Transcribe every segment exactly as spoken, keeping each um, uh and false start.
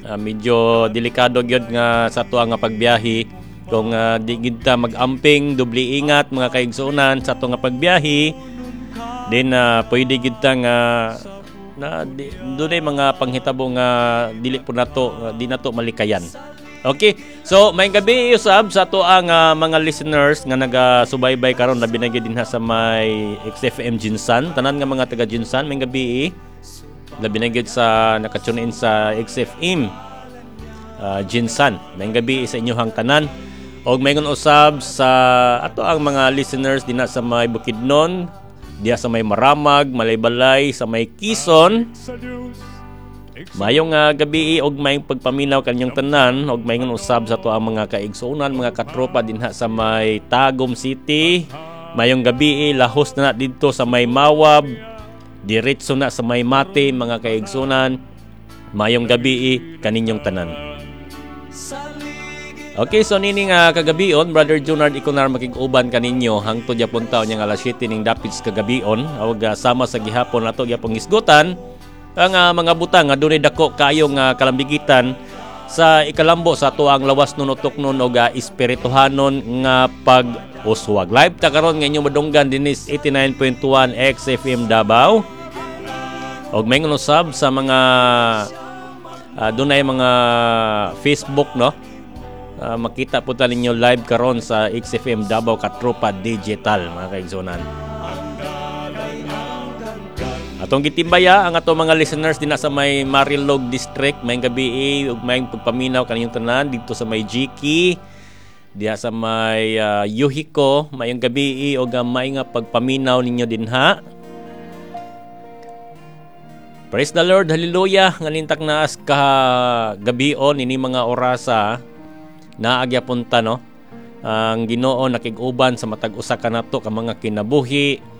Uh, medyo delikado gyud nga sa ato nga pagbiyahe kung uh, di gid ta mag-amping, doble ingat, mga kaigsuonan, sa ato nga pagbiyahe din, uh, pwede gid ta nga na di, dunay mga panghitabo nga dili po nato uh, di nato malikayan. Okay. So, may gabi usab sa ato ang uh, mga listeners nga nagasubaybay karon, labi na gyud dinha sa may X F M GenSan. Tanan nga mga taga GenSan, may gabi. Labi na gyud sa naka-tune in sa X F M uh, GenSan. May gabi sa inyohang tanan. Og mayngon usab sa ato ang mga listeners dinha sa may Bukidnon, diha sa may Maramag, Malaybalay, sa may Quezon. Mayong uh, gabi og mayong pagpaminaw kanyang tanan, og mayngon usab sa ato ang mga kaigsuonan, mga katropa dinha sa may Tagum City. Mayong gabi, lahos na, na didto sa may Mawab, diretso na sa may Mati, mga kaigsuonan. Mayong gabi kaninyong tanan. Okay, so nini nga kagabion, Brother Junard Iconar makig-uban kaninyo hangtod yapon taon nya alas siyete ning dapit sa kagabion. Og uh, sama sa gihapon, ato gyapon hisgutan ang uh, mga butang nga dunay dako kayo nga kalambigitan sa ikalambo sa ato ang lawas nun, utok nun og uh, espirituhanon nga pag-uswag. Live ta karon nga inyong madunggan dinis eighty-nine point one X F M Davao. Og may usab sa mga uh, dunay mga Facebook, no? Uh, makita po ta ninyo live karon sa X F M Davao Katropa Digital, mga kaigsunan. Atong gitimbaya ang ato mga listeners dinha sa may Marilog District, may gabi ug may pagpaminaw kaniyong tanan dito sa may Jiki, diha sa may uh, Yuhiko, mayong gabi ug uh, may nga pagpaminaw ninyo dinha. Praise the Lord, hallelujah. Nganintak naas ka gabion ini mga orasa, naagya punta, no? Ang Ginoo nakig-uban sa matag usa ka nato ka mga kinabuhi.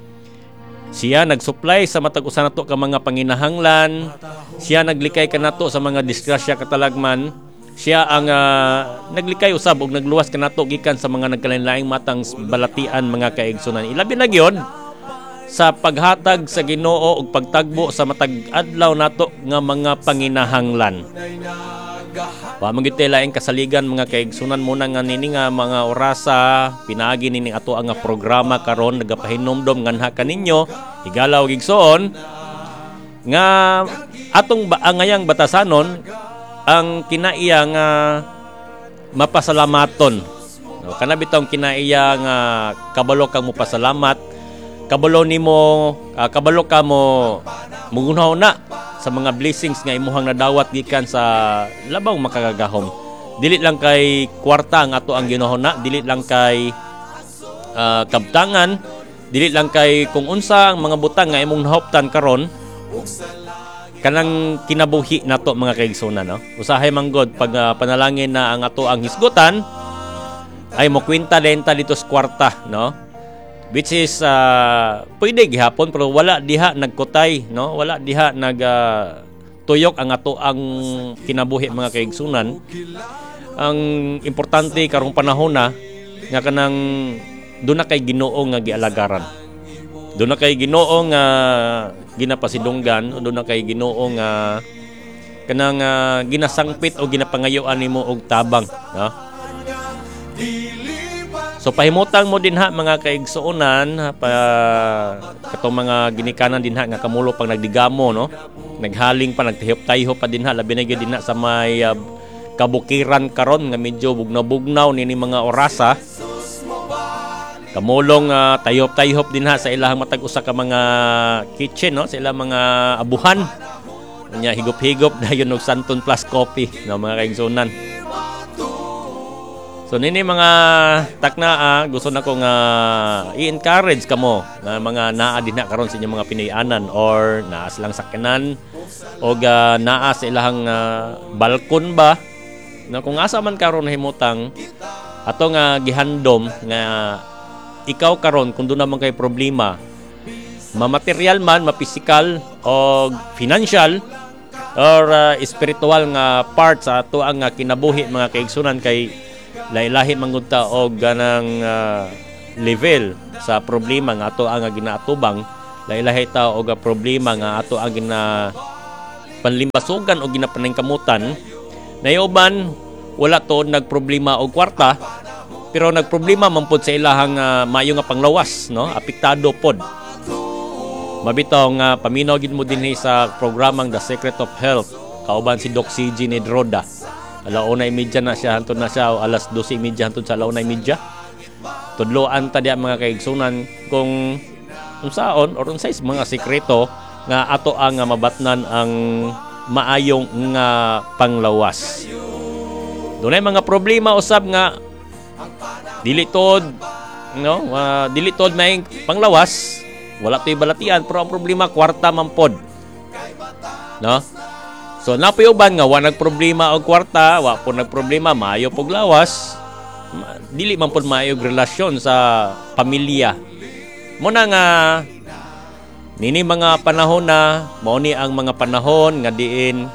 Siya nagsupply sa matag usa nato ka mga panginahanglan. Siya naglikay kanato sa mga disgrasya katalagman. Siya ang uh, naglikay usab og nagluwas kanato gikan sa mga nagkalain-laing matang balatian, mga kaigsunan. Ilabi na gyud sa paghatag sa Ginoo og pagtagbo sa matag adlaw nato nga mga panginahanglan. Wa man gyud laing kasaligan, mga kaigsunan, mo na nga nini nga mga orasa, pinaagi nini ato ang programa karon nagapahinumdom nganha kaninyo, higala ug igsoon, nga atong ba angayang batasanon ang kinaiya nga mapasalamaton. No, kana bitong kinaiya nga kabalo kang mopasalamat, kabalo nimo, uh, kabalo ka mo mugunaw na sa mga blessings nga imuhang nadawat gikan sa labang makagagahom. Dili lang kay kwarta ang ato ang ginuhuna, dili lang kay uh, kabtangan, dili lang kay kung unsa ang mga butang nga imong nahoptan karon, kanang kinabuhi nato, mga kaigsunan, no? Usahay man god pag uh, panalangin na ang ato ang hisgutan ay mokwenta denta dito sa kwarta, no? Which is uh, pwede gihapon, pero wala diha nagkutay, no? Wala diha nag uh, tuyok ang ato ang kinabuhi, mga kaigsunan. Ang importante karong panahon na nga kanang doon na kay Ginoo nga gialagaran, doon na kay Ginoo nga ginapasidunggan, doon na kay Ginoo nga kanang uh, ginasangpit o ginapangayuan nimo og tabang, no? So pahimutang mo dinha, mga kaigsuonan, pa katong mga ginikanan dinha nga kamulo pang nagdigamo, no? Naghaling pa, nagtihop-tayhop pa dinha, labi na gyud dinha sa may uh, kabukiran karon nga medyo bugnaw-bugnaw nini mga orasa. Kamulong uh, tayhop-tayhop dinha sa ilahang matag usa ka mga kitchen, no? Sa ilang mga abuhan. Nya higop-higop dayon og Santon Plus coffee, no, mga kaigsuonan. So nini mga takna, ah, gusto na ko nga i-encourage kamo nga mga naa dinha karon sa inyong mga Pinoy-anan or naa silang sakyanan o uh, naa sa ilahang uh, balkon ba na kung asa man karon himutang ato nga gihandom nga ikaw karon, kung doon naman kay problema, ma-material man, ma-physical o financial or uh, spiritual nga part sa ato ang uh, kinabuhi, mga kaigsunan, kay lahi-lahi man gud ta og ganang uh, level sa problema nga ato ang ginaatubang, lahi-lahi ta og problema nga ato ang gina panlimbasugan o ginapaningkamutan. Naay uban wala to nagproblema og kwarta, pero nagproblema man pod sa ilahang uh, maayo nga panglawas, no? Apektado pod. Mabitaw nga paminaw gid mo dinhi sa programang The Secret of Health kauban si Doc C J Nedroda. Alauna imedya na siya hantod na siya o alas dose y media hantod sa alauna imedya. Tudloan ta diya, mga kaigsunan, kung unsaon or unsay mga sekreto nga ato ang nga mabatnan ang maayong nga panglawas. Dunay mga problema usab nga dili tod, no, uh, dili tod may panglawas, wala to'y balatian, pero ang problema kwarta man pod. No? So napoy uban nga wa nagproblema og kwarta, wa po nagproblema maayo pog lawas, ma- dili man pod maayo og relasyon sa pamilya. Muna nga nini mga panahon na mao ni ang mga panahon nga diin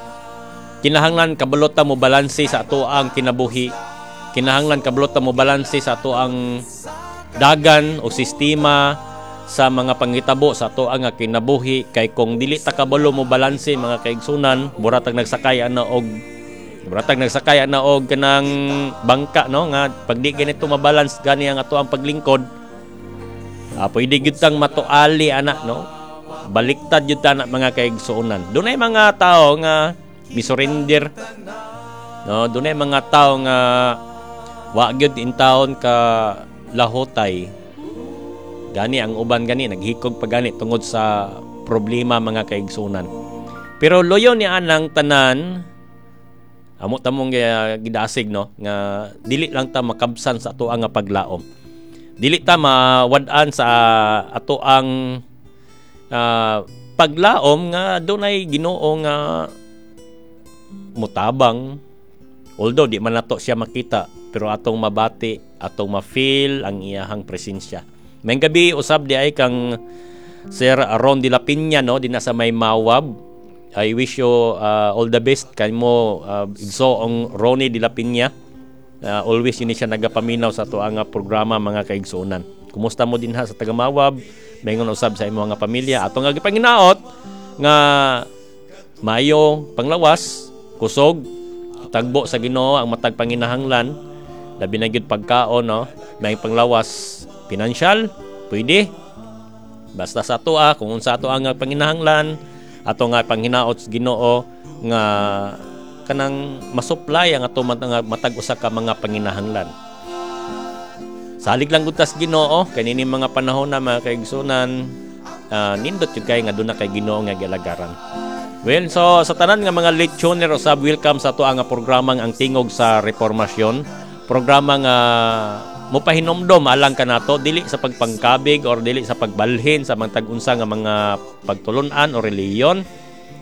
kinahanglan kabalo ta mo balanse sa ato ang kinabuhi. Kinahanglan kabalo ta mo balanse sa ato ang dagan o sistema sa mga panghitabo sa ato ang kinabuhi, kay kung dili ta kabalo mo balanse, mga kaigsunan, mura tag nagsakay ana og mura tag nagsakay ana og kanang bangka, no, nga pag di ganito mabalance gani ang ato ang paglingkod, ah, pwede gyud tang matuali ana, no? Baliktad gyud ta na, mga kaigsuonan. Dunay mga tao nga misurrender, no? Dunay mga tao nga wa gyud intawon ka lahotay. Gani ang uban gani naghikog pa gani tungod sa problema, mga kaigsunan. Pero loyo ni anang tanan, amo tamong gidasig, no, nga dili lang ta makabsan sa ato ang nga paglaom. Dili ta mawad-an sa ato ang uh, paglaom nga dunay Ginoo nga mutabang, although di man nato siya makita, pero atong mabati, atong ma-feel ang iyahang presensya. Maayong gabi usab di ay kang Sir Ron de la Peña, no, dinha sa may Mawab. I wish you uh, all the best kanimo, uh, igsoong Ronnie de la Peña. Uh, always yun siya nagapaminaw sa ato ang programa, mga kaigsuonan. Kumusta mo dinha sa taga Mawab? Maingon usab sa imong nga pamilya. Ato nga gipanginaot nga maayo panglawas, kusog, tagbo sa Ginoo ang matag panginahanglan, labi na gyud pagkaon, no? May panglawas pinansyal, pwede. Basta sa ato ah, kung unsa ato ang panginahanglan, ato nga panghinaot sa Ginoo nga kanang masupply ang ato matag usa ka mga panginahanglan. Salig lang gud tas Ginoo kay nini mga panahon na, mga kaigsunan, uh, nindot jud kay nga duna kay Ginoo nga gialagaran. Well, so sa tanan nga mga late tuner usab, welcome sa ato ang programang Ang Tingog sa Reformasyon. Programa nga mopahinomdom alang kanato, dili sa pagpangkabig or dili sa pagbalhin sa mga tag-unsa nga mga pagtulunan o relihiyon,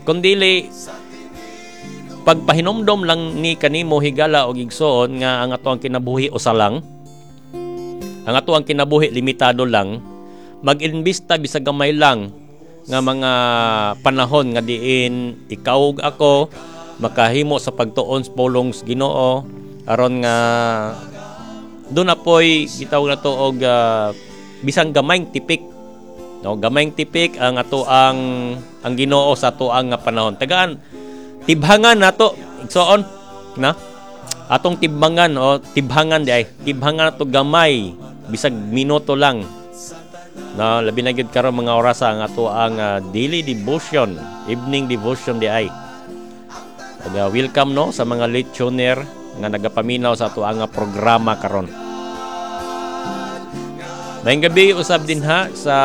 kundili pagpahinomdom lang ni kanimo, higala og igsoon, nga ang ato ang kinabuhi usa lang. Ang ato ang kinabuhi limitado lang. Mag-imbista bisag gamay lang nga mga panahon nga diin ikaw ug ako makahimo sa pagtuon sa pulong sa Ginoo, aron nga doon na po'y gitawag na to og uh, bisang gamayng tipik, no? Gamayng tipik ang ato ang ang Ginoo sa ato ang nga panahon. Tagaan, tibhangan nato, igsoon, na atong tibhangan o tibhangan di ay tibhangan nato gamay bisag minuto lang, no? Labi na gyud karon mga orasa ang ato ang uh, daily devotion, evening devotion di ay. Ug, uh, welcome, no, sa mga late tuner nga nagapaminaw sa ato ang programa karon. Maayong gabi usab dinha sa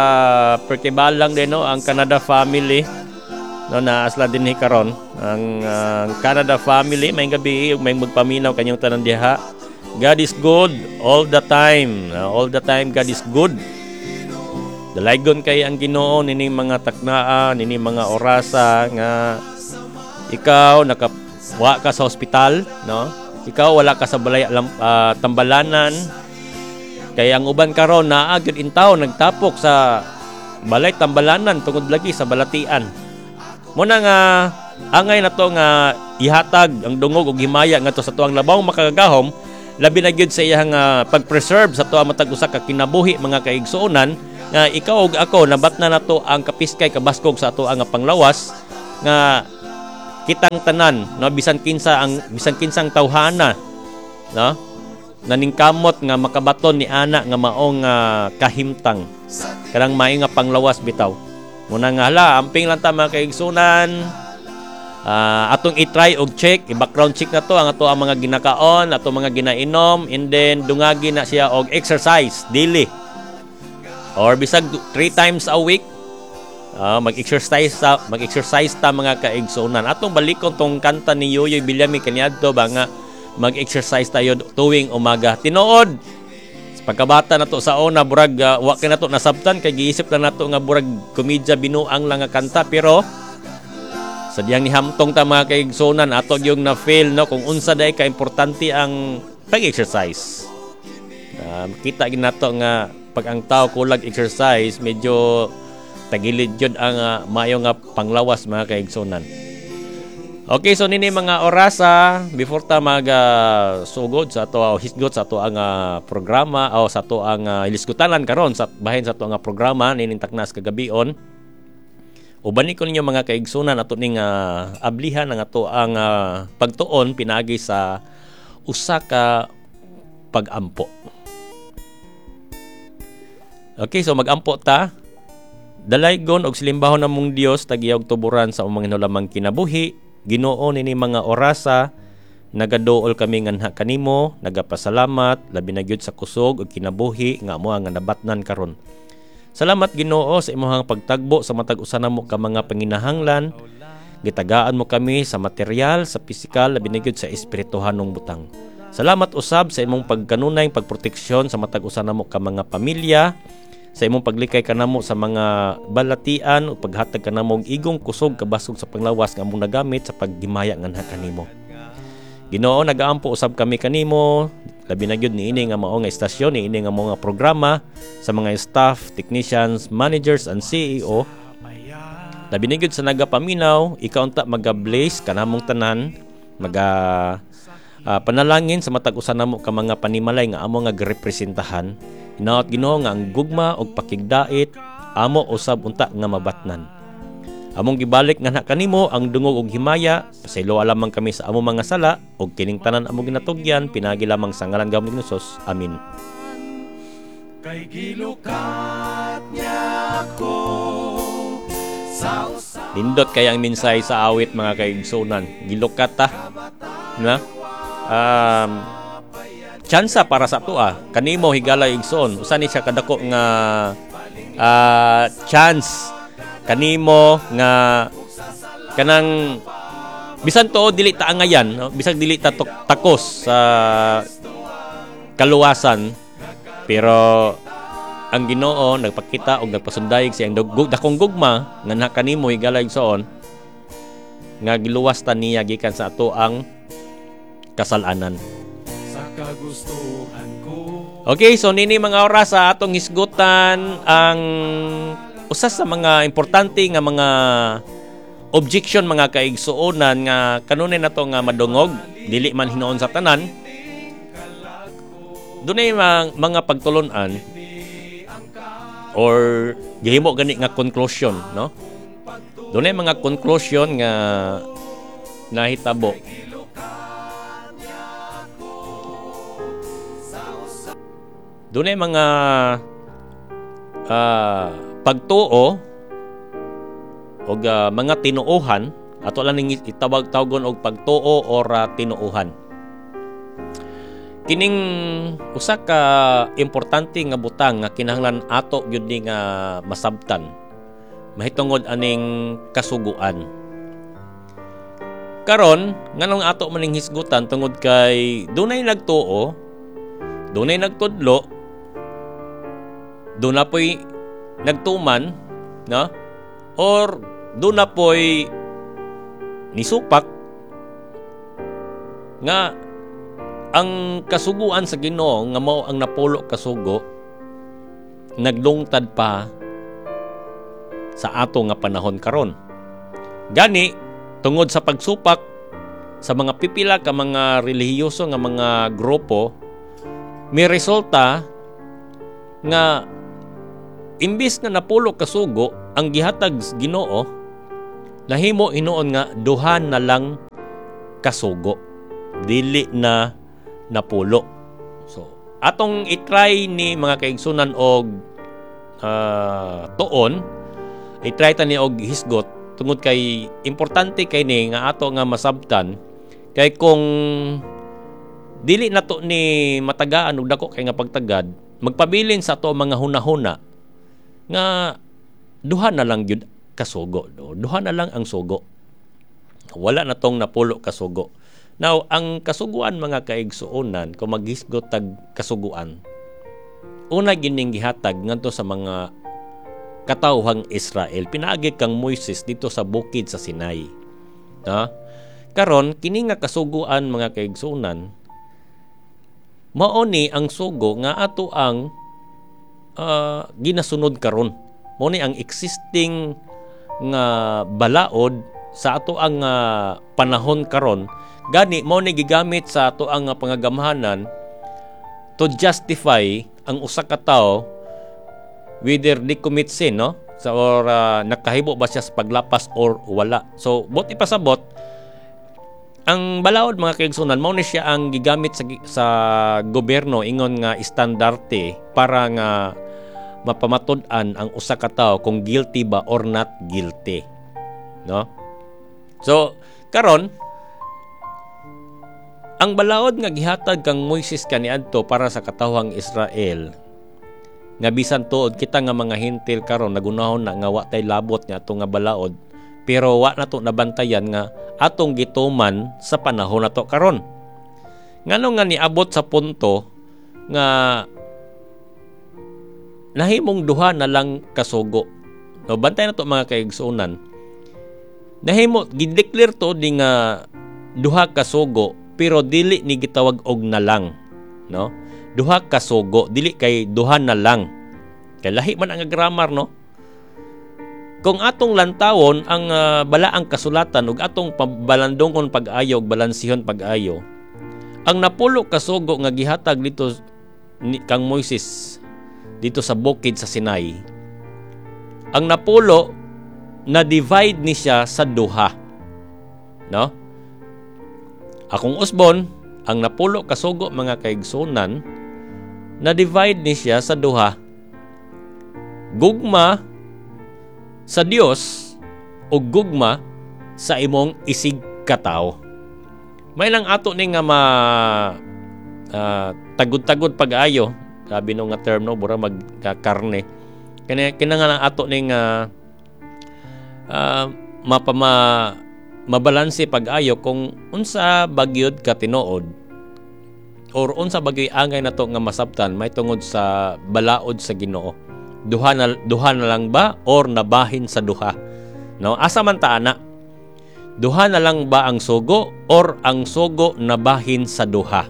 Pertibalang din, no, ang Canada family, no, na asla dinhi karon ang uh, Canada family. Maayong gabi, may magpaminaw kanyong tanan diha. God is good all the time. Uh, all the time God is good. Dalaygon kay ang Ginoo nining mga taknaa, nining mga orasa nga ikaw naka wa ka sa ospital, no? Ikaw wala ka sa balay uh, tambalanan. Kay ang uban karon naa gyud intaw nagtapok sa balay tambalanan tungod lagi sa balatian. Muna nga angay na to nga ihatag ang dungog og himaya ngadto sa tuang labawng makagagahom, labi na gyud sa iyang uh, pag-preserve sa tuang matag usa ka kinabuhi, mga kaigsuonan, nga ikaw ug ako nabatna nato ang kapiskay kabaskog sa ato ang panglawas nga Kitang tanan, no, bisan kinsa ang bisan kinsang tawhana, no, naningkamot nga makabaton ni ana nga maong uh, kahimtang, kanang maayo nga panglawas bitaw. Muna nga hala, amping lang ta, mga kaigsunan. Uh, atong i-try og check, i-background check na to ang ato ang mga ginakaon, ato mga ginainom, and then dungagi na siya og exercise daily. Or bisag three times a week, uh, mag-exercise ta, mag-exercise ta, mga kaigsunan. Atong balikon tong kanta ni Yoyoy Villame kaniadto ba nga mag-exercise tayo tuwing umaga. Tinuod, pagkabata na to sa una, burag uh, wa kay nato nasabtan kay giisip lang nato nga burag komedya, binuang lang nga kanta, pero sa diyang nihamtong ta, mga kaigsunan, ato yung na feel, no, kung unsa day ka importante ang pag-exercise. Uh, kita gid nato nga pag ang tao kulag exercise, medyo tagilid jud ang uh, maayo nga panglawas, mga kaigsunan. Okay, so nini mga orasa before ta mag uh, sugod sa ato o hisgot sa ato ang uh, programa o sa ato ang uh, hilisgutanan karon sa bahin sa ato nga programa nining taknas kagabion. Uban ko ninyo, mga kaigsunan, ato ning uh, ablihan ang ato ang uh, pagtuon pinaagi sa usa ka pagampo. Okay, so magampo ta. Dalaygon og silimbahon namong Dios, tag-iya og tuboran sa among hinulamang kinabuhi. Ginoo, nini mga orasa nagaduol kami nganha kanimo, nagapasalamat labi na gyud sa kusog ug kinabuhi nga amo ang nabatnan karon. Salamat, Ginoo, sa imong pagtagbo sa matag usa namo ka mga panginahanglan. Gitagaan mo kami sa material, sa pisikal, labi na gyud sa espirituhanong butang. Salamat usab sa imong pagkanunay pagproteksyon sa matag usa namo ka mga pamilya, sa imong paglikay kanamo sa mga balatian ug paghatag kanamo og igong kusog, kabasog sa panglawas nga among nagamit sa paghimaya nganha kanimo. Ginoo, nagaampo usab kami kanimo, labi na gyud niini nga mao nga istasyon, niini nga mao nga programa, sa mga staff, technicians, managers and C E O. Labi na gyud sa nagapaminaw, ikaw unta maga-bless kanamong tanan, maga uh, panalangin sa matag usa namo ka mga panimalay nga amo nga girepresentahan. Hinaot, Ginoo, nga ang gugma ug pakigdait amo usab unta nga mabatnan. Among gibalik nga kanimo ang dungog ug himaya, pasayloa lamang kami sa among mga sala ug kining tanan among ginatugyan pinaagi lamang sa ngalan gahom ni Jesus. Amin. Kay gilukat niya ako sa usa Nindot kay ang mensahe sa awit, mga kaigsunan. Gilukat ta. Na? Um, tsansa para sa ato ah. Kanimo, higala igsoon. Usa ni siya kadako nga uh, chance kanimo nga kanang bisan to dili ta angayan, no? Bisag dili ta takos sa kaluwasan, pero ang Ginoo nagpakita og nagpasundayag siyang dakong gugma nga kanimo, higala igsoon, nga giluwas ta niya gikan sa ato ang kasalanan. Sa kagustuhan ko. Okay, so nini mga oras sa atong hisgutan ang usa sa mga importante nga mga objection, mga kaigsuonan, nga kanunay nato nga madungog, dili man hinuon sa tanan. Dunay mga, mga pagtulon-an or gihimo gani nga conclusion, no? Dunay mga conclusion nga nahitabo. Dunay mga uh, pagtuo og uh, mga tinuohan, ato lang ning itawag tawgon og pagtuo or uh, tinuohan. Kining usa ka importante nga butang nga kinahanglan ato gyud ni nga masabtan mahitungod aning kasuguan. Karon, nganong ato maning hisgutan? Tungod kay dunay nagtuo, dunay nagtudlo, duna po'y nagtuman, no? Or duna po'y nisupak nga ang kasuguan sa Ginoo nga mao ang napulo kasugo naglungtad pa sa ato nga panahon karon. Gani tungod sa pagsupak sa mga pipila ka mga relihiyoso nga mga grupo, may resulta nga imbis nga napulo kasugo ang gihatag sa Ginoo, Nahimo hinuon nga duha na lang kasugo, dili na napulo. So atong i-try ni, mga kaigsunan, og uh, tuon, i-try ta ni og hisgot tungod kay importante kay ni nga ato nga masabtan, kay kung dili nato ni matagaan og dako kay nga pagtagad, magpabilin sa ato mga hunahuna nga duha na lang gyud kasugo, no? Duha na lang ang sugo, wala na tong napulo kasugo. Now, ang kasuguan, mga kaigsuonan, kung maghisgot tag kasuguan, una gining gihatag ngadto sa mga katawhang Israel pinaagi kang Moises dito sa bukid sa Sinai. Ha? Karon, kini nga kasuguan, mga kaigsuonan, mao ni ang sugo nga ato ang uh, ginasunod karon. Mao ni ang existing nga balaod sa ato ang uh, panahon karon. Gani mao ni gigamit sa ato ang pangagamhanan to justify ang usa ka tawo whether they commit sin, no, sa or uh, nakahibo ba siya sa paglapas or wala. So buot ipasabot, ang balaod, mga kaigsunan, mao ni siya ang gigamit sa sa gobyerno ingon nga estandarte para nga mapamatud-an ang usa ka tawo kung guilty ba or not guilty, no? So karon, ang balaod nga gihatag kang Moises kaniadto para sa katawhang Israel, nga bisan tuod kita nga mga Hentil karon nagunahon na nga wa tay labot nga ato nga balaod, pero wa na to nabantayan nga atong gituman sa panahon nato karon. Ngano nga niabot sa punto nga nahimong duha na lang kasugo? No, bantay na to, mga kaigsuonan. Nahimo gideclare to di nga duha kasugo, pero dili ni gitawag og na lang, no? Duha ka sugo, dili kay duha na lang, kay lahi man ang grammar, no? Kung atong lantawon ang uh, balaang kasulatan ug atong pabalandongon pag-ayo ug balansihon pag-ayo, ang napulo ka sugo nga gihatag dito ni, kang Moises dito sa bukid sa Sinai, ang napulo na divide ni siya sa duha, no? Akong usbon, ang napulo kasugo, mga kaigsunan, na divide ni siya sa duha. Gugma sa Dios o gugma sa imong isig katawo. May lang ato ni nga ma uh, tagud-tagud pag-ayo, sabi no nga term, no, bura magkakarne. Kini kina nga ato ni nga uh, mapama mabalanse pag-ayo kung unsa bagyod ka tinuod or unsa bagyoy angay nato nga masabtan may tungod sa balaod sa Ginoo. Duha na duha na lang ba or nabahin sa duha? No, asa man ta ana? Duha na lang ba ang sugo or ang sugo nabahin sa duha?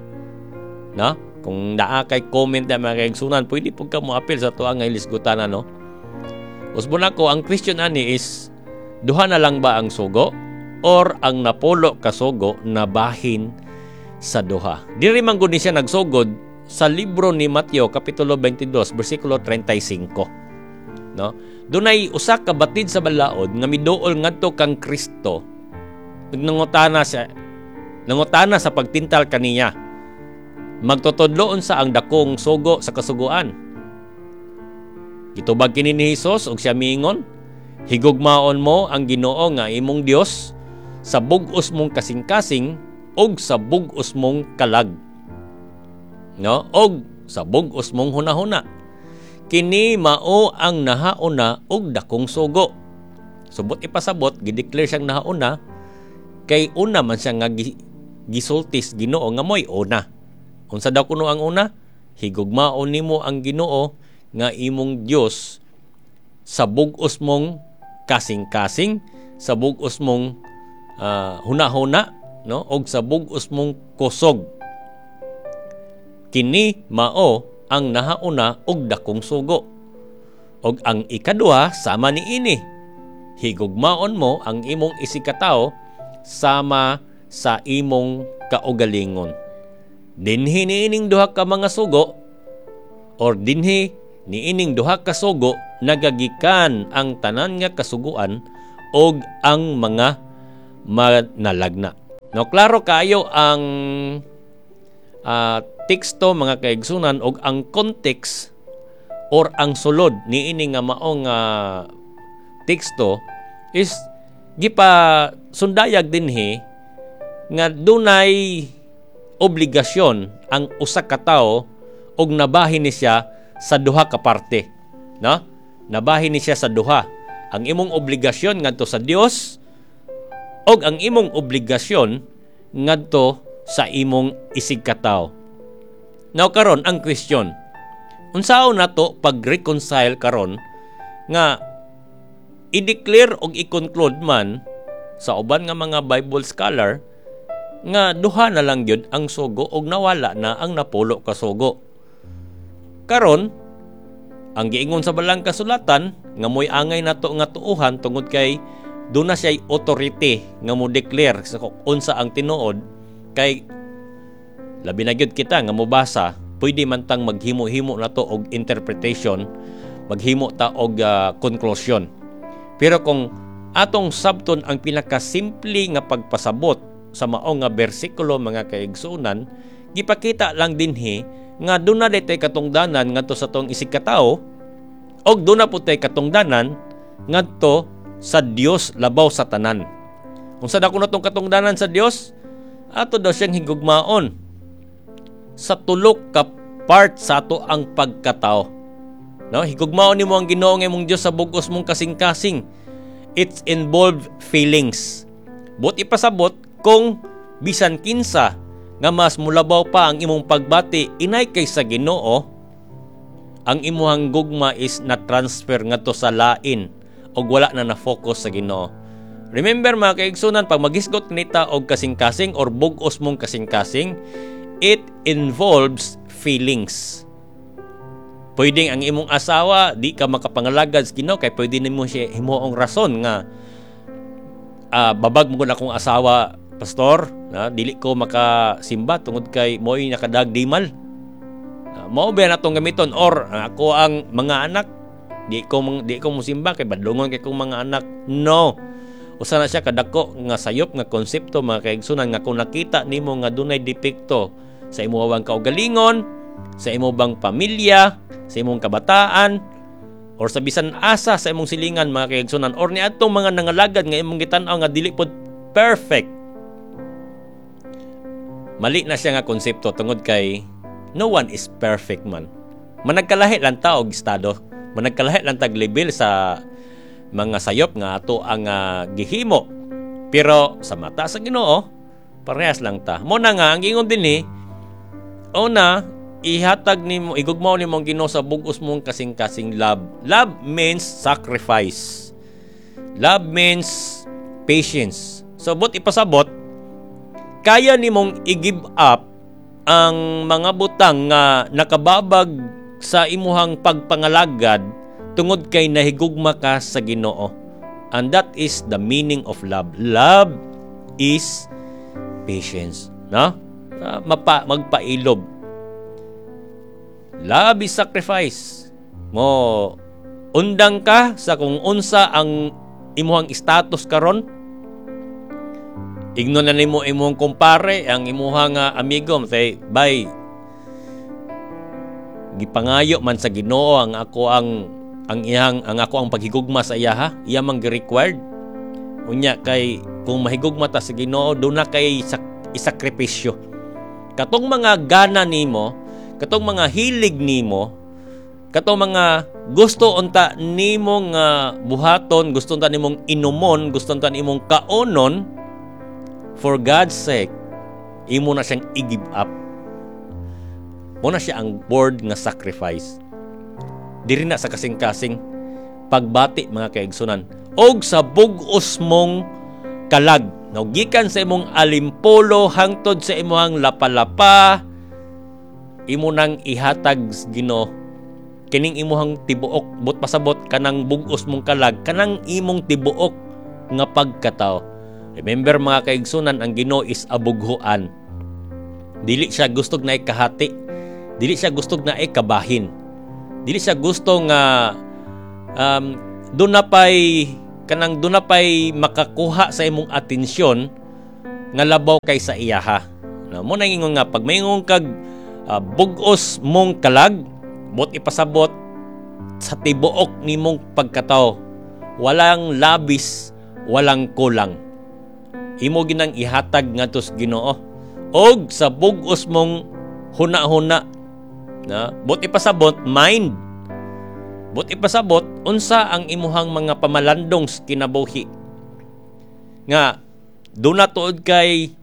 No? Kung naa kay comment na, mga kaigsunan, pwede pud ka mo apil sa tuang nga ilisgutan, no? Usbon ako, ang question ani is duha na lang ba ang sugo or ang napulo kasugo nabahin sa duha? Diri man gud ni siya nagsugod sa libro ni Mateo kapitulo twenty-two bersikulo thirty-five. No? Dunay usa ka batid sa balaod nga miduol ngadto kang Kristo. Nangutana siya, nangutana sa pagtintal kaniya. Magtutudloon sa ang dakong sugo sa kasuguan. Gitubag kini ni Hesus ug siya miingon, "Higugmaon mo ang Ginoo nga imong Dios sa bug-os mong kasing-kasing ug sa bug-os mong kalag, no, og sa bug-os mong hunahuna. Kini mao ang nahauna ug dakong sugo." Subot ipasabot, gideclare siyang nahauna kay una man siya nga gisultis Ginoo nga moy una. Unsa daw kuno ang una? Higugmaon nimo ang Ginoo nga imong Dios sa bug-os mong kasing-kasing, sa bug-os mong uh, hunahuna, no, og sa bug-os mong kusog. Kini mao ang nahauna og dakong sugo. Og ang ikaduha sama niini. Higugmaon mo ang imong isigkatawo sama sa imong kaugalingon. Dinhi niining duha ka mga sugo or dinhi niining duha ka sugo nagagikan ang tanan nga kasuguan og ang mga manalagna. No, klaro kaayo ang uh, teksto, mga kaigsunan, og ang context or ang sulod niini nga maong uh, teksto is gipa sundayag dinhi nga dunay obligasyon ang usa ka tawo og nabahin ni siya sa duha ka parte, no? Nabahin ni siya sa duha: ang imong obligasyon ngadto sa Dios og ang imong obligasyon ngadto sa imong isigkatawo. Now karon, ang question, unsaon nato pag-reconcile karon nga i-declare og i-conclude man sa uban nga mga Bible scholar nga duha na lang gyud ang sugo og nawala na ang napulo ka sugo? Karon, ang giingon sa Balang Kasulatan nga mo'y angay nato nga tuuhan tungod kay duna siya authority nga mo declare sa unsa ang tinuod, kay labi na gyud kita nga mobasa, pwede man tang maghimo-himo nato og interpretation, maghimo ta og uh, conclusion. Pero kung atong sabton ang pinakasimple nga pagpasabot sa mao nga bersikulo, mga kaigsuonan, gipakita lang dinhi nga duna ditay katungdanan ngadto sa atong isigkatawo og duna pud tay katungdanan ngadto sa Dios labaw sa tanan. Unsa dako natong katungdanan sa Dios? Ato daw siyang higugmaon sa tulok ka part sa ato ang pagkatao. No, higugmaon nimo ang Ginoo nga imong Dios sa bug-os mong kasing-kasing. It's involved feelings. But ipasabot, kung bisan kinsa nga mas mulabaw pa ang imong pagbati inay kay sa Ginoo, ang imuhang gugma is na transfer ngadto sa lain og wala na na-focus sa Ginoo. Remember, mga kaigsunan, pag maghisgot nita og kasing-kasing or bug-os mong kasing-kasing, it involves feelings. Pwedeng ang imong asawa di ka makapangalagad sa Ginoo kay pwede nimo siya himuong rason nga uh, babag mo akong asawa, pastor, na dili ko makasimba tungod kay mo'y nakadagdimal. Uh, mao ba natong gamiton or uh, ako ang mga anak, di ko di ko musimba kay badlongon kay kong mga anak. No. Usa na siya kadako nga sayop nga konsepto, mga kaigsunan, nga kung nakita nimo nga dunay depekto sa imong kaugalingon, sa imong bang pamilya, sa imong kabataan, or sa bisan asa sa imong silingan, mga kaigsunan, or niadtong mga nangalagad nga imong gitan-aw nga dili pod perfect, mali na siya nga konsepto tungod kay no one is perfect man. Managkalahi lang ta og estado, managkalahi lang tag level sa mga sayop nga ato ang uh, gihimo, pero sa mata sa Ginoo parehas lang ta. Mo na nga ang giingon dinhi, una, ihatag nimo, igugmaw nimo ang Ginoo sa bug-os mong kasing-kasing. Love. Love means sacrifice. Love means patience. So but ipasabot, kaya nimong i-give up ang mga butang nga nakababag sa imuhang pagpangalagad tungod kay nahigugma ka sa Ginoo. And that is the meaning of love. Love is patience, no? Uh, mapa, magpailob. Love is sacrifice. Mo undang ka sa kung unsa ang imuhang status karon. Igno na nimo imong kumpare, ang imuhang uh, amigo, say, "Bay, gipangayo man sa Ginoo ang ako ang ang iyang ang ako ang paghigugma sa iya ha. Iya man gi-required. Unya kay kung mahigugma ta sa Ginoo, duna kay sak, isakripisyo. Katong mga gana nimo, katong mga hilig nimo, katong mga gusto unta nimo nga buhaton, gusto unta nimong inumon, gusto unta nimong kaonon, for God's sake, imo na siyang i-give up. Mo na siya ang word nga sacrifice. Diri na sa kasing-kasing pagbati, mga kaigsunan, og sa bug-os mong kalag. Now, gikan sa imong alimpolo hangtod sa imong lapalapa, imo nang ihatag sa Ginoo kining imuhang tibuok. But pasabot, kanang bug-os mong kalag, kanang imong tibuok nga pagkatao. Remember, mga kaigsunan, ang Ginoo is abughuan. Dili siya gusto na ikahati, dili siya gusto na ikabahin, dili siya gusto nga um, doon na pa'y kanang duna pay makakuha sa imong atensyon nga labaw kay sa iyaha. No, mo nang ingon nga pag maingon kag uh, bug-os mong kalag, buot ipasabot sa tibuok nimong pagkatao. Walang labis, walang kulang. Imo ginang ihatag ngadto sa Ginoo og sa bug-os mong huna-huna, na buot ipasabot mind, buot ipasabot unsa ang imuhang mga pamalandong sa kinabuhi nga duna tuod kay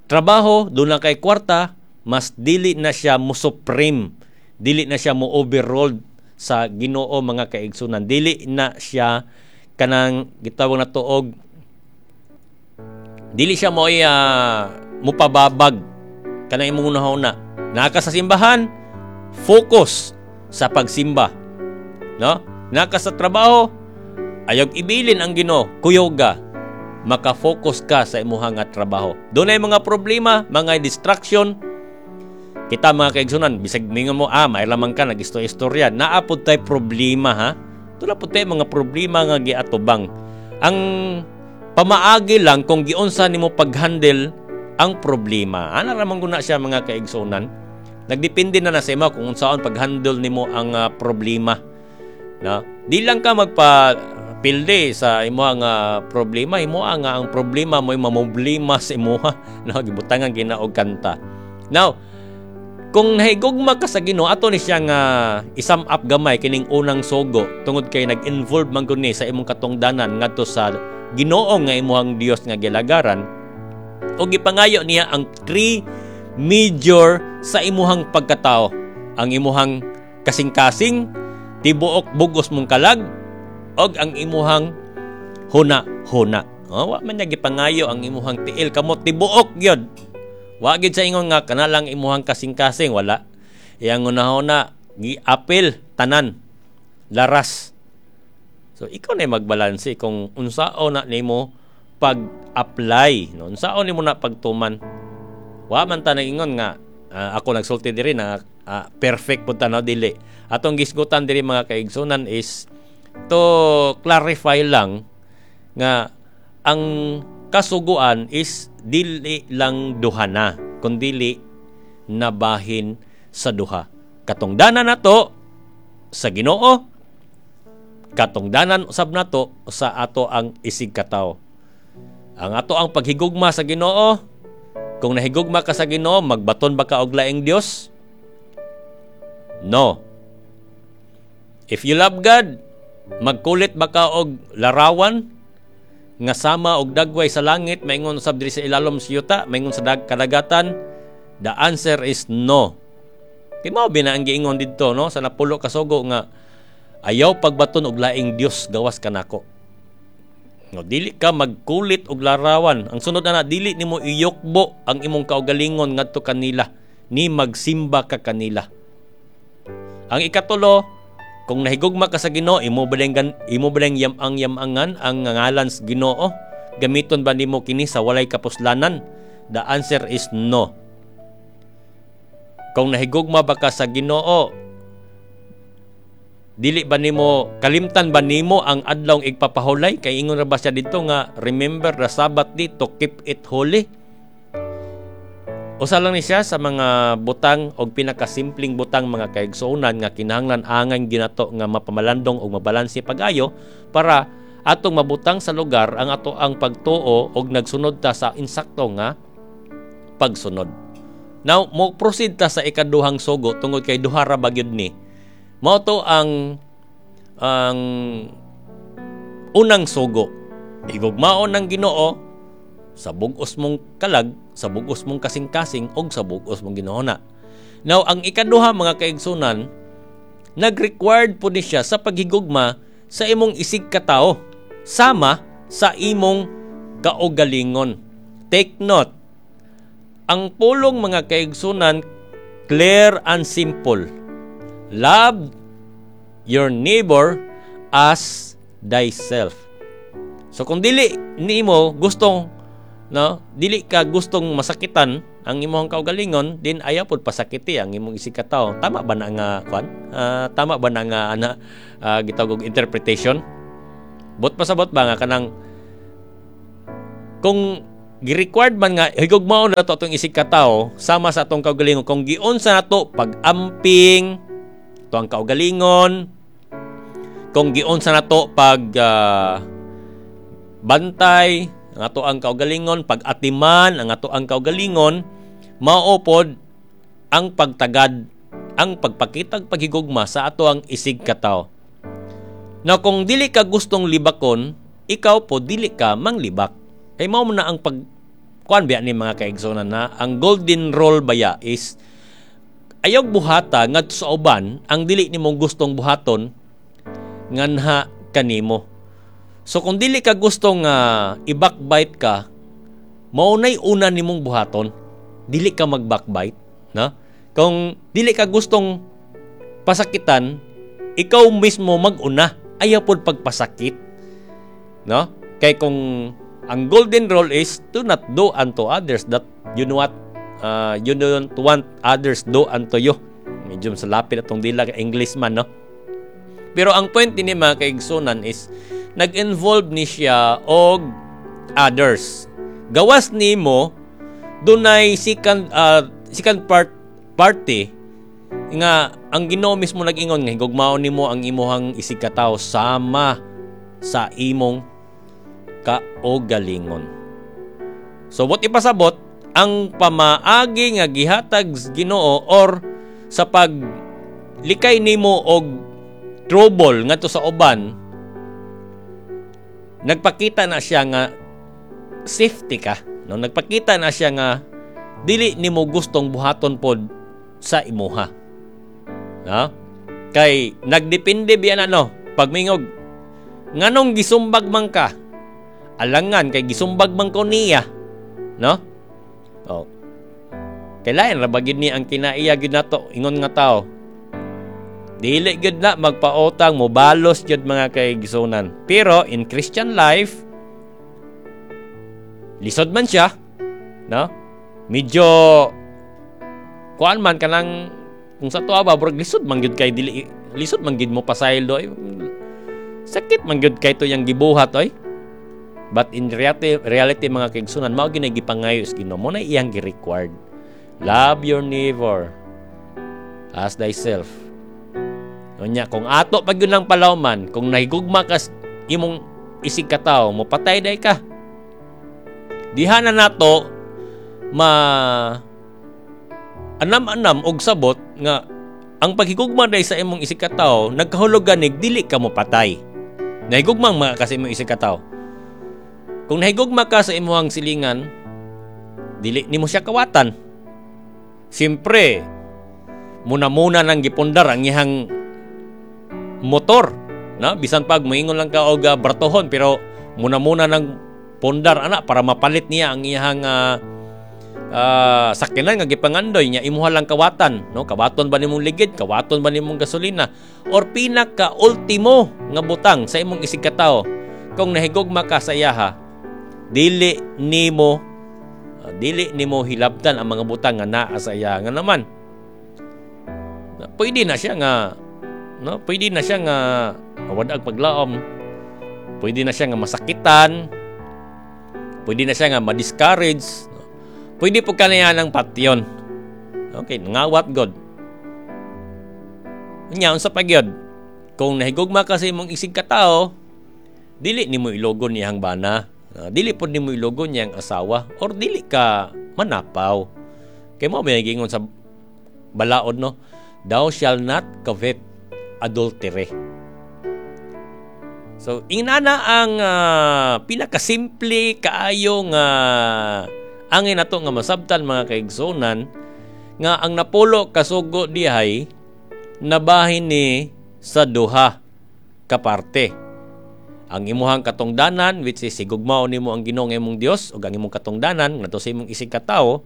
trabaho, duna kay kwarta, mas dili na siya mo supreme, dili na siya mo overrule sa Ginoo, mga kaigsunan. Dili na siya kanang gitawag na tuog, dili siya mo uh, mupababag kanang imong hunahuna. Naa ka sa simbahan, focus sa pagsimba, no? Naa ka sa trabaho, ayaw ibilin ang Ginoo, kuyoga maka-focus ka sa imuhang nga trabaho. Dunay mga problema, mga distraction kita, mga kaigsunan, bisag mingon mo, ah, may lamang ka nag-istorya, naa pud tay problema, ha. Duna pud tay mga problema nga giatubang. Ang pamaagi lang kung giunsa nimo pag-handle ang problema. Ana ra man guna siya, mga kaigsunan. Nagdepende na na sa imo kung unsaon pag-handle nimo ang uh, problema. No? Di lang ka magpa pilde sa imo nga uh, problema, imo nga ang problema mo mamoblema sa imuha, no? Gibutangan gina og kanta. Now, kung nahigugma ka sa Ginoo, ato ni siya nga i-sum up gamay kining unang sugo tungod kay nag-involve man gud ni sa imong katungdanan ngadto sa Ginoo nga imuhang Dios nga gilagaran, o gipangayo niya ang three major sa imuhang pagkatao: ang imuhang kasing-kasing, tibuok bugos mong kalag, og ang imuhang huna-huna. Oh, wa man niya gipangayo ang imuhang tiil, kamot, tibuok gyud. Wa gid sa ingon nga kana lang imuhang kasing-kasing, wala. Iyang hunahuna giapil tanan laras. So ikaw na magbalanse kung unsao na nimo pag-apply, no? Unsaon nimo na pagtuman. Wa man ta nagingon nga uh, ako nagsulti diri na uh, perfect pud ta, no? Dili. Atong gisgutan diri, mga kaigsunan, is to clarify lang nga ang kasuguan is dili lang duha na kundili nabahin sa duha: katungdanan nato sa Ginoo, katungdanan usab nato sa ato ang isig katawo. Ang ato ang paghigugma sa Ginoo, kung nahigugma ka sa Ginoo, magbaton ba ka og laing Dios? No. If you love God, magkulit ba ka og larawan nga sama og dagway sa langit, maingon usab diri sa ilalom sa yuta, maingon sa dag kadagatan? The answer is no. Kay mao bina ang giingon didto, no, sa napulo ka sugo nga ayaw pagbaton og laing Dios gawas kanako. No, dili ka magkulit og larawan. Ang sunod na, dili nimo iyukbo ang imong kaugalingon ngadto kanila ni magsimba ka kanila. Ang ikatulo, kung nahigugma ka sa Ginoo, imo ba imo ba yam-ang yam-angan ang ngalan sa Ginoo? Gamiton ba nimo kini sa walay kapuslanan? The answer is no. Kung nahigugma ba ka sa Ginoo, dili ba nimo kalimtan ba nimo ang adlaw igpapahulay? Kay ingon ra ba siya didto nga remember the Sabbath day to keep it holy? Usa lang ni siya sa mga butang og pinakasimpleng butang, mga kaigsuonan, nga kinahanglan angan ginato nga mapamalandong og mabalanse pag-ayo para atong mabutang sa lugar ang ato ang pagtuo og nagsunod ta sa insakto nga pagsunod. Now, mo proceed ta sa ikaduhang sugo tungod kay duha ra ba gyud ni. Mao to ang ang unang sugo. Higugmaon ng Ginoo sa bug-os mong kalag, sa bug-os mong kasing-kasing og sa bug-os mong ginahuna. Now, ang ikaduha, mga kaigsunan, nag-required po ni siya sa paghigugma sa imong isig katao sama sa imong kaugalingon. Take note, ang pulong, mga kaigsunan, clear and simple. Love your neighbor as thyself. So kung dili nimo gustong, no, dili ka gustong masakitan ang imong kaugalingon, din ayaw pud pasakiti ang imong isig katao. Tama ba na nga kwan? Uh, tama ba na nga ana uh, gitawag interpretation? Buot pasabot ba nga kanang kung gi-required man nga higugmaon nato atong isig katawo sama sa atong kaugalingon, kung giunsa nato pag-amping to ang kaugalingon, kung giunsa nato pag uh, bantay ang ato ang kaugalingon, pag-atiman ang ato ang kaugalingon, mao pod ang pagtagad, ang pagpakitag paghigugma sa ato ang isig katawo. Now, kung dili ka gustong libakon, ikaw po dili ka manglibak. Kay mao na ang pag kuan biya ni mga kaigsunan na ang golden rule baya is ayaw buhata ngadto sa uban ang dili nimo gustong buhaton nganha kanimo. So kung dili ka gustong uh, i-backbite ka, mao nay una nimong buhaton, dili ka mag-backbite, no? Kung dili ka gustong pasakitan, ikaw mismo mag-una, ayaw pod pagpasakit, no? Kay kung ang golden rule is to not do unto others that you know what uh, you don't want others do unto you. Medyo sa lapit atong dila English man, no? Pero ang point ni mga kaigsunan is nag-involve ni siya og others. Gawas nimo, dunay second uh, second part party nga ang Ginoo mismo nag-ingon nga higugmaon nimo ang imuhang isig katawo sama sa imong kaugalingon. So buot ipasabot, ang pamaagi nga gihatag Ginoo or sa paglikay nimo og trouble ngadto sa uban, nagpakita na siya nga safety ka, no? Nagpakita na siya nga dili nimo gustong buhaton pod sa imuha, no? Kay nagdepende biya na, no? Pagmingog nganong gisumbag man ka, alangan kay gisumbag man ko niya, no? Oh. Kailangan ra ba gyud ni ang kinaiya gyud nato ingon nga tao. Dili gyud na magpautang, mobalos gyud mga kaigsunan. Pero in Christian life, lisod man siya, no? Medyo kuan man kanang kung sa tuwa ba, murag lisod man gyud kay dili, lisod man gyud mo pasaylo. Sakit man gyud kay to yang gibuhat oy. But in reality, reality mga kaigsunan, mao gyud gipangayo sa Ginoo, mo na iyang gi-required. Love your neighbor as thyself. Unya, kung ato pag yun lang palawman, kung nahigugma ka imong isig katawo, mo patay day ka. Diha na nato ma anam-anam og sabot nga ang paghigugma day sa imong isig katawo nagkahulugan nig dili ka mo patay. Nahigugma mga ka sa imong isig katawo. Kung nahigugma ka sa imong silingan, dili nimo siya kawatan. Siyempre, muna-muna nang gipundar ang iyang motor, no? Bisan pag moingon lang ka og uh, bratohon, pero muna-muna nang pundar ana para mapalit niya ang iyang uh, uh, sakyanan nga gipangandoy niya, imuha lang kawatan, no? Kawaton ba nimong ligid, kawaton ba nimong gasolina, or pinaka ultimo nga butang sa imong isig katawo, kung nahigugma ka sa iyaha, dili nimo uh, dili nimo hilabtan ang mga butang nga naa sa iya. Nga naman pwede na siya nga, no, pwede na siya nga mawadag paglaom, pwede na siya nga masakitan, pwede na siya nga ma-discourage, no? Pwede po kaniya ng patyon. Okay, ngawat God. Unya, unsa pa gyud? Kung nahigugma ka sa imong isig katawo, dili nimo ilogon niyang bana, uh, dili pod nimo ilogon niyang asawa, or dili ka manapaw. Kay mo may giingon sa balaod, no? Thou shall not commit adultery. So, inana ang uh, pinakasimple kaayo nga angin nato nga masabtan mga kaigsunan nga ang napulo kasugo dihay nabahin ni sa duha ka parte. Ang imuhang katungdanan, which is higugmaon nimo ang Ginoo nga imong Dios ug ang imong katungdanan ngadto sa imong isig katawo,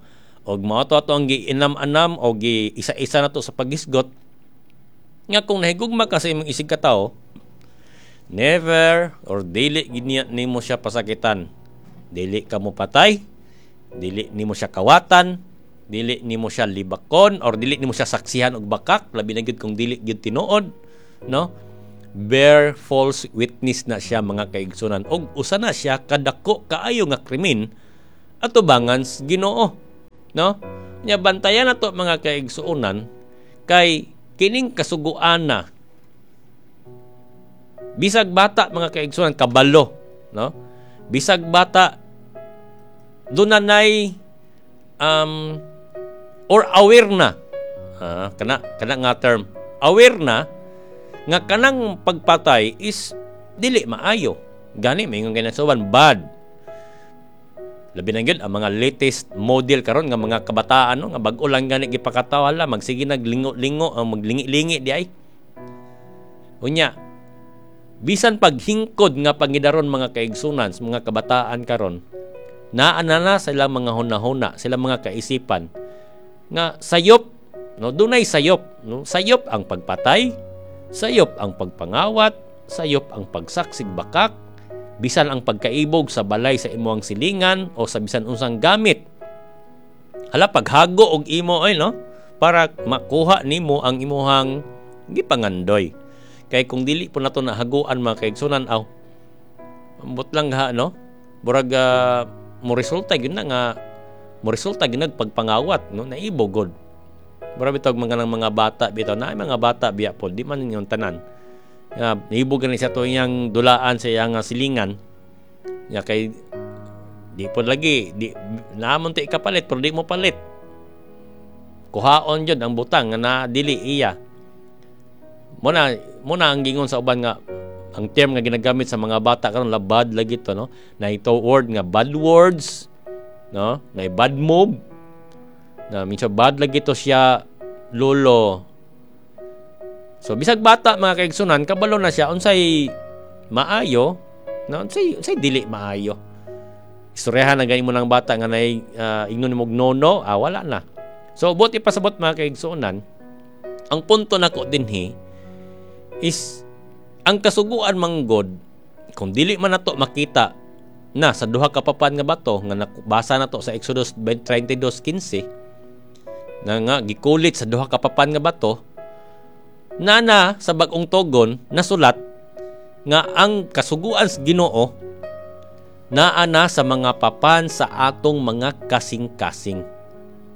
ug mao to ato ang giinam-anam o gi isa-isa nato sa paghisgot nga kung nahigugma ka sa imong isig katawo, never or dili gid nimo siya pasakitan, dili ka mo patay, dili nimo siya kawatan, dili nimo siya libakon, or dili nimo siya saksihan og bakak, labi na gyud kung dili gyud tinuod, no? Bear false witness na siya, mga kaigsunan, og usa na siya kadako kaayo nga krimen atubangan sa Ginoo, no? Nya bantayan nato, mga kaigsuonan, kay kining kasuguan na bisag bata, mga kaigsuonan, kabalo, no? Bisag bata, dunanay um, or aware na, ah, kana kana nga term, aware na nga kanang pagpatay is dili maayo. Gani maingon kinasuban bad. Labi na gyud ang mga latest model karon nga mga kabataan, no, nga bag-o lang gani gipakataw, hala, magsige naglingo-lingo ang maglingi-lingi di ay. Unya bisan paghingkod nga pangidaron, mga kaigsunan, sa mga kabataan karon, naa na na sa ilang mga hunahuna, silang mga kaisipan nga sayop, no? Dunay sayop, no? Sayop ang pagpatay, sayop ang pagpangawat, sayop ang pagsaksig bakak, bisan ang pagkaibog sa balay sa imong silingan o sa bisan unsang gamit. Hala, paghago og imo ay, no, para makuha nimo ang imuhang gipangandoy. Kay kung dili po nato nahaguan, mga kaigsunan, aw, ambot lang ha, no? Murag uh, mo resulta gyud na nga mo resulta gyud nagpagpangawat, no, naibog gud. Mura bitog mga ng mga bata bitaw na mga bata biya po, di man yung tanan. Nga naibog gani sa to iyang dulaan sa iyang silingan. Ya kay di po lagi di naamon ti ikapalit pero di mo palit. Kuhaon jud ang butang nga na dili iya. Mo na mo na ang gingon sa uban nga ang term nga ginagamit sa mga bata karon, la bad lagi to, no? Na ito word nga bad words, no? Na bad move na minsan bad lagi to siya, lolo. So bisag bata, mga kaigsunan, kabalo na siya unsay maayo, no, unsay unsay dili maayo. Istoryahan na gani mo ng bata nga nay uh, ingnon nimo no no, ah, wala na. So buot ipasabot, mga kaigsunan, ang punto nako dinhi is ang kasuguan manggod kung dili man nato makita na sa duha ka papan nga bato nga nabasa nato sa Exodus thirty-two fifteen na nga gikulit sa duha ka papan nga bato, nana sa Bag-ong Tugon nasulat nga ang kasuguan sa Ginoo naa na sa mga papan sa atong mga kasing-kasing,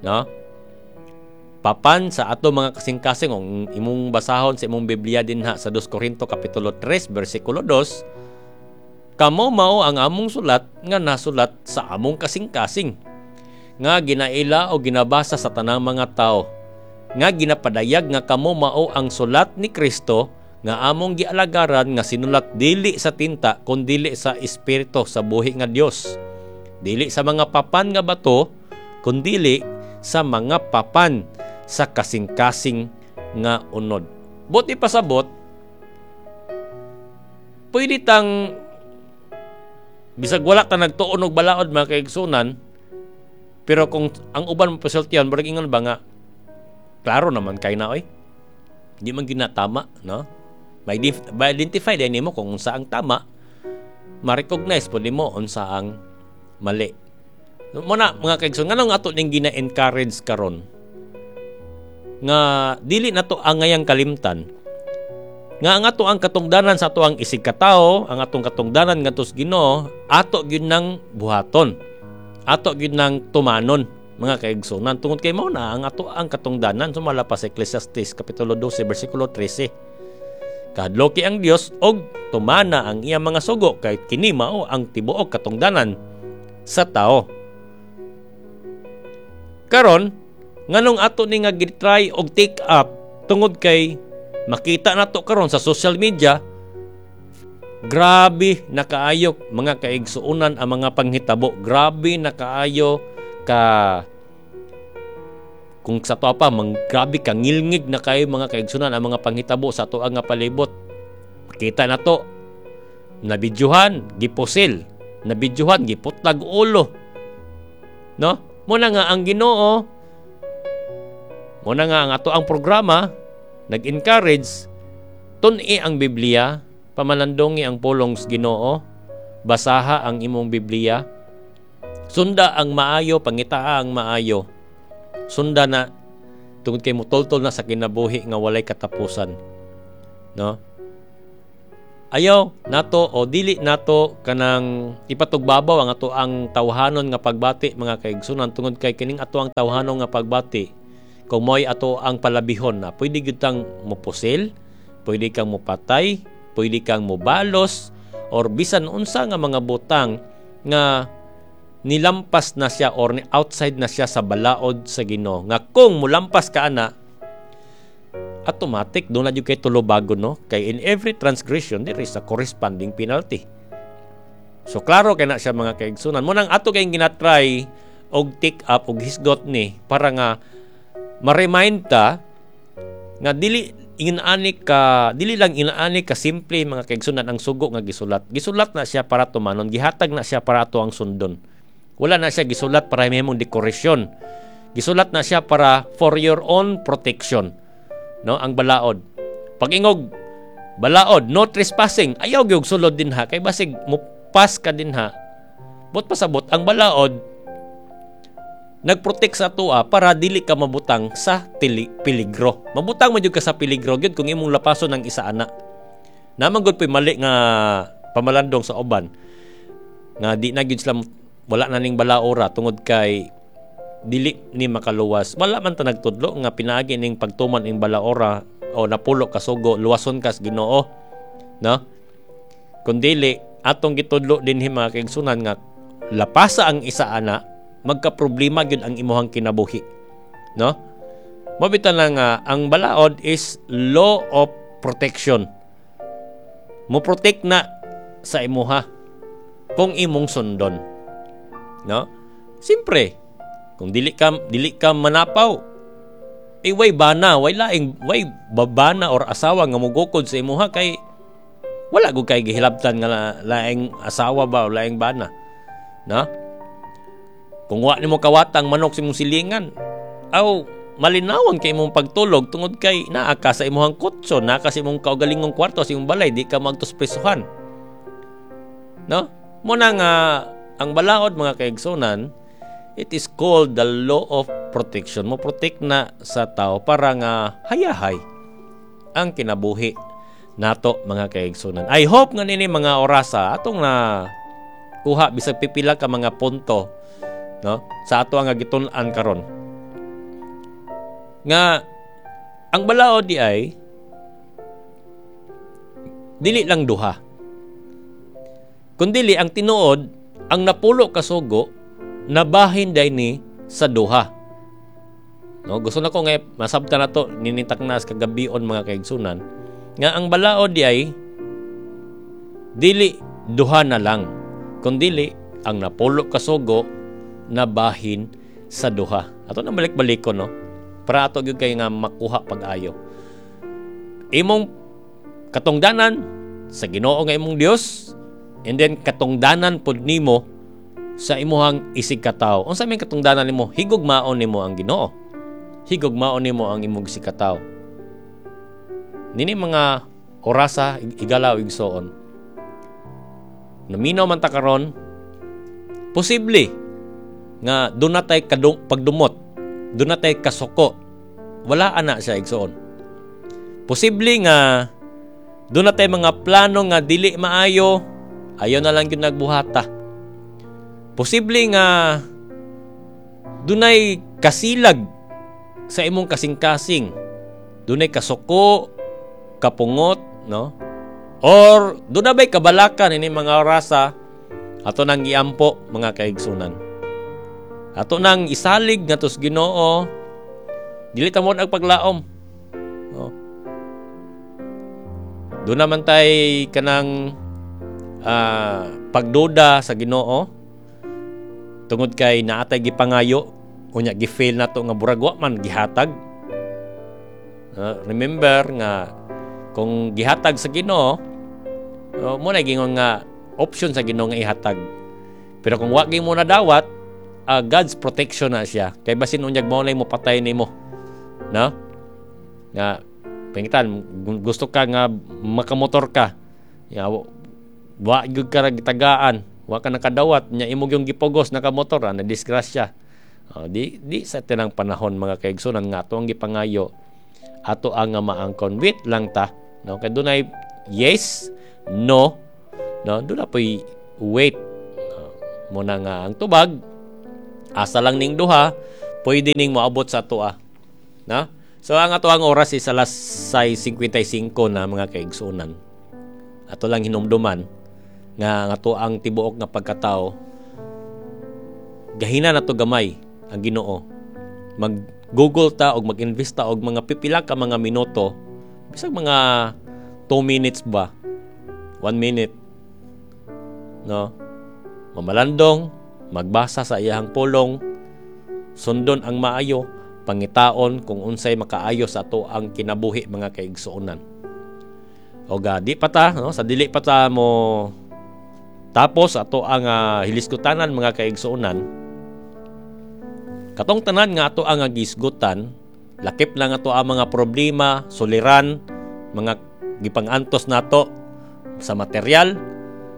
no? Papan sa atong mga kasing-kasing. Kung imong basahon sa imong Biblia dinha sa two Korinto kapitulo three bersikulo two, kamo mao ang among sulat nga nasulat sa among kasing-kasing nga ginaila o ginabasa sa tanang mga tao, nga ginapadayag nga kamo mao ang sulat ni Kristo nga among gialagaran, nga sinulat dili sa tinta kundili sa espiritu sa buhi nga Dios, dili sa mga papan nga bato kundili sa mga papan sa kasing-kasing nga unod. Buot ipasabot, pwede tang bisag wala ta nagtuon og balaod, mga kaigsunan, pero kung ang uban mo pasultihan, murag ingon ba nga klaro naman kay na oy. Di man ginatama, no? Ma-identify din nimo kung unsa ang tama, ma-recognize po nimo unsa ang mali. Mo na, mga kaigsoon, nganong ato ning gina-encourage karon nga dili nato angayang kalimtan nga ang ato ang katungdanan sa ato ang isig katao, ang atong katungdanan ngadto sa Ginoo, ato gyud nang buhaton. Ato gyud nang tumanon, mga kaigsunan, tungod kay mao na ang ato ang katungdanan sumala pa sa Ecclesiastes kapitulo twelve bersikulo thirteen. Kahadloki ang Dios og tumana ang iyang mga sugo kay kini mao ang tibuok katungdanan sa tao. Karon, nganong ato ni nga gitry og take up? Tungod kay makita nato karon sa social media, grabe na kaayo, mga kaigsuonan, ang mga panghitabo. Grabe na kaayo ka, kung sa to pa mang grabe ka ngilngig na kayo, mga kaigsunan, ang mga panghitabo sa ato nga palibot. Makita na to, nabidyohan gipusil, nabidyohan giputlag ulo, no? Mo na nga ang Ginoo, mo na nga ang ato ang programa nag-encourage, tun-i ang Biblia, pamalandongi ang pulong sa Ginoo, basaha ang imong Biblia, sunda ang maayo, pangitaa ang maayo. Sunda na tungod kay mutultol na sa kinabuhi nga walay katapusan, no? Ayaw nato o dili nato kanang ipatugbabaw ang ato ang tawhanon nga pagbati, mga kaigsunan, tungod kay kining ato ang tawhanon nga pagbati, kung mo'y ato ang palabihon na pwede gyud tang mopusil, pwede kang mopatay, pwede kang mobalos, or bisan unsa nga mga butang nga nilampas na siya or ni outside na siya sa balaod sa Ginoo, nga kung mulampas ka ana, automatic doon na jud kay tulubagon, no? Kay in every transgression there is a corresponding penalty. So klaro kay na siya, mga kaigsunan. Mo nang ato kay ginatry og take up og hisgot ni para nga ma-remind ta nga dili ingani ka dili lang inaani ka simple, mga kaigsunan, ang sugo nga gisulat. Gisulat na siya para tumanon, gihatag na siya para ato ang sundon. Wala na siya gisulat para mahimong dekorasyon. Gisulat na siya para for your own protection, no? Ang balaod, pag-ingog balaod, no trespassing, ayaw gyud sulod dinha kay basig mo pass ka dinha. But pasabot, ang balaod nagprotect sa atoa para dili ka mabutang sa tili, peligro. Mabutang man jud ka sa peligro gyud kung imong lapason ang isa ana. Naman gud po'y mali nga pamalandong sa uban nga di na gyud sila, wala na ning balaora tungod kay dili ni makaluwas. Wala man ta nagtudlo nga pinaagi ning pagtuman ning balaora o napulo ka sugo, luwason kas Ginoo, no? Kun dili atong gitudlo dinhi, mga kaigsunan, nga lapasa ang isa ana, magka-problema gyud ang imuhang kinabuhi, no? Mabita na nga ang balaod is law of protection. Mo protect na sa imuha kung imong sundon, no? Siyempre, kung dili ka dili ka manapaw, eh way bana, way laing way babana or asawa nga mugukod sa imuha kay wala gud kay gihilabtan nga laing asawa ba o laing bana, no? Kung wa nimo kawatang manok sa imong silingan, aw malinawan kay imong pagtulog tungod kay naa ka sa imong kutso, naa ka sa imong kaugalingong kwarto sa imong balay, di ka magtuspresuhan, no? Mo na nga ang balaod, mga kaigsunan, it is called the law of protection. Mo protect na sa tao para nga hayahay ang kinabuhi nato, mga kaigsunan. I hope nga nini mga orasa atong na kuha bisag pipila ka mga punto, no, sa ato ang gitun-an karon nga ang balaod di ay dili lang duha, kundili ang tinuod, ang napulo ka sugo nabahin day ni sa duha, no? Gusto na ko nga masabtan nato ninintaknas kagabion, mga kaigsunan, nga ang balaod di ay dili duha na lang, kundili ang napulo ka sugo nabahin sa duha. Ato na balik-balik ko, no, para ato gyud kay nga makuha pag-ayo. Imong katungdanan sa Ginoo nga imong Dios, and then katungdanan pod nimo sa imuhang isig katawo. Unsa may katungdanan nimo? Higugmaon nimo ang Ginoo. Higugmaon nimo ang imong isig katawo. Nini mga orasa, igalaw, igsoon. Naminaw man ta karon, posible nga doon na tay kadung, pagdumot, doon na tay kasuko. Wala ana siya, igsoon. Posible nga doon na tay mga plano nga dili maayo, ayaw na lang gyud nagbuhata. Posible nga dunay kasilag sa imong kasing-kasing. Dunay kasuko, kapungot, no? Or doon na ba'y kabalakan ini mga orasa, ato nang iampo, mga kaigsunan. Ato nang isalig nga tos Ginoo, dili ta mo ang paglaom. No? Doon naman tay kanang uh, pagduda sa Ginoo tungod kay naatay gipangayo, unya gi-fail nato nga burag wa man gihatag. Uh, remember nga kung gihatag sa Ginoo, uh, mo na gingon nga option sa Ginoo nga ihatag. Pero kung wa mo nadawat, uh, God's protection na siya. Kay basin unyag mao na mo patay nimo. No? Nga pangitan gusto ka nga makamotor ka. Ya, wa gyud ka gitagaan, wa ka nakadawat nya imo yung gipugos nakamotor, ah, na disgrasya. Uh, di di sa tinang panahon, mga kaigsunan, nga ato ang gipangayo ato ang nga maangkon. Wait lang ta, no? Kay dunay yes, no, no, duna po'y wait. No, muna nga ang tubag asa lang ning duha pwede ning moabot sa atoa. Na? So ang ato ang oras is alas sais singkwenta y singko na, mga kaigsuonan. Ato lang hinumduman nga ang ato ang tibuok nga pagkatao, gahina na to gamay ang Ginoo. Mag Google ta og mag-invest ta og mga pipila ka mga minuto, bisag mga two minutes ba, one minute, no? Mamalandong, magbasa sa iyahang pulong, sundon ang maayo, pangitaon kung unsay makaayo sa ato ang kinabuhi, mga kaigsuonan. O ga, di pa ta, no? Sa dili pa ta mo tapos ato ang uh, hilisgutanan, mga kaigsuonan, katong tanan nga ato ang gisgutan, lakip lang ato ang mga problema, suliran, mga gipangantos nato sa material,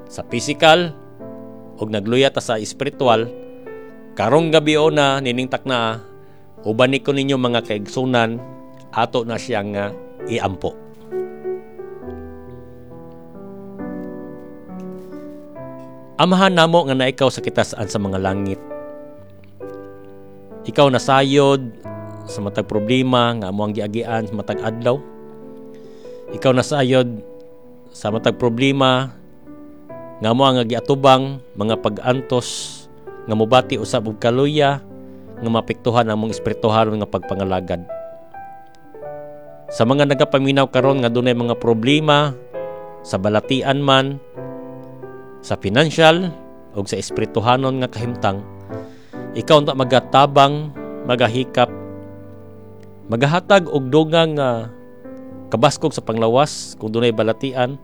sa physical, ug nagluya ta sa espiritual, karong gabi o na nining takna, uban ko ninyo, mga kaigsunan, ato na siyang uh, iampo. Amahan namo nga na ikaw sa kitasaan sa mga langit. Ikaw nasayod sa matag problema nga amo ang giagian sa matag adlaw. Ikaw nasayod sa matag problema nga amo ang giatubang, mga pag-antos nga mobati usab og kaluya nga mapektuhan among espirituhanon nga pagpangalagad. Sa mga nagapaminaw karon nga dunay mga problema sa balatian man, sa financial o sa espirituhanon nga kahimtang, ikaw unta magatabang, magahikap, magahatag og dugang nga kabaskog sa panglawas kung dunay balatian,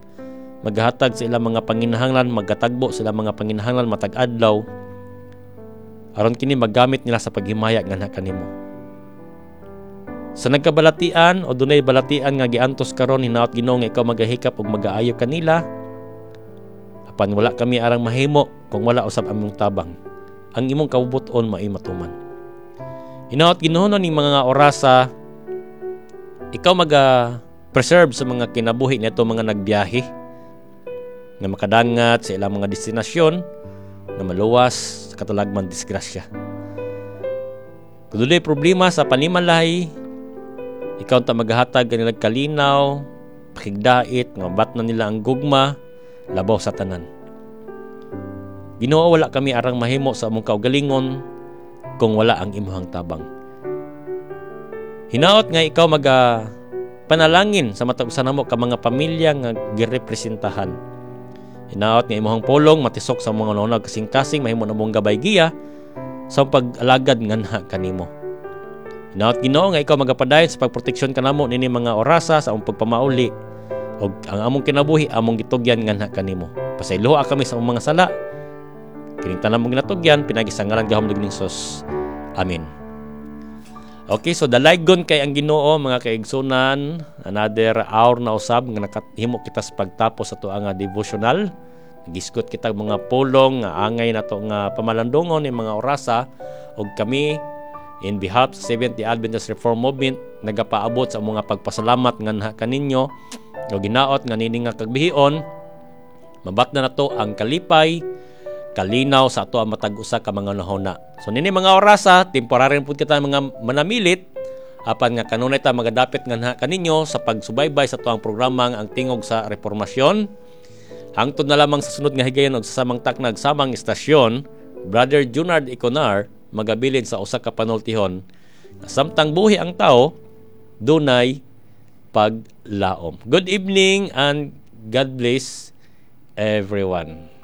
magahatag sa ilang mga panginahanglan, magatagbo sa ilang mga panginahanglan matag adlaw aron kini magamit nila sa paghimaya nganha kanimo. Sa nagkabalatian o dunay balatian nga giantos karon, hinaot, Ginoo, nga ikaw magahikap ug magaayo kanila. Apan wala kami arang mahimo kung wala usab among tabang. Ang imong kabubut-on maoy matuman. Hinaot, Ginoo, ning mga orasa, ikaw maga preserve sa mga kinabuhi nito mga nagbiyahe nga makadangat sa ilang mga destinasyon nga maluwas sa katalagman disgrasya. Kung dunay problema sa panimalay, ikaw ta maghatag kanila kalinaw, pakigdait, nga mabatna nila ang gugma labaw sa tanan. Ginoo, wala kami arang mahimo sa among kaugalingon kung wala ang imuhang tabang. Hinaot nga ikaw maga panalangin sa matag usa namo ka mga pamilya nga girepresentahan. Hinaot nga imuhang pulong matisok sa mga hunahuna kasing-kasing, mahimo namong gabay giya sa pag-alagad nganha kanimo. Hinaot, Ginoo, nga ikaw magapadayon sa pagproteksyon kanamo nini mga orasa sa among pagpamauli ug ang among kinabuhi among gitugyan nganha kanimo. Pasayloa kami sa among mga sala. Kining tanan mong ginatugyan pinaagi sa ngalan gahom ni Jesus. Amen. Okay, so dalaygon kay ang Ginoo, mga kaigsunan. Another hour na usab nga nakahimo kita sa pagtapos sa atoang nga devotional. Gisgot kita mga pulong nga angay nato nga pamalandungon ni mga orasa ug kami in behalf sa Seventh-day Adventist Reform Movement nagapaabot sa mga pagpasalamat nganha kaninyo ug ginaot nga nini nga kagbihion mabatna nato ang kalipay, kalinaw sa ato ang matag usa ka mga hunahuna. So nini mga orasa, temporary pud kita mga manamilit, apan nga kanunay ta magadapit nganha kaninyo sa pagsubaybay sa atoang programang Ang Tingog sa Reformasyon. Hangtod na lamang sa sunod nga higayon og sa samang taknag, samang istasyon, Brother Junard Iconar magabilin sa usa ka panultihon. Samtang buhi ang tao, dunay paglaom. Good evening and God bless everyone.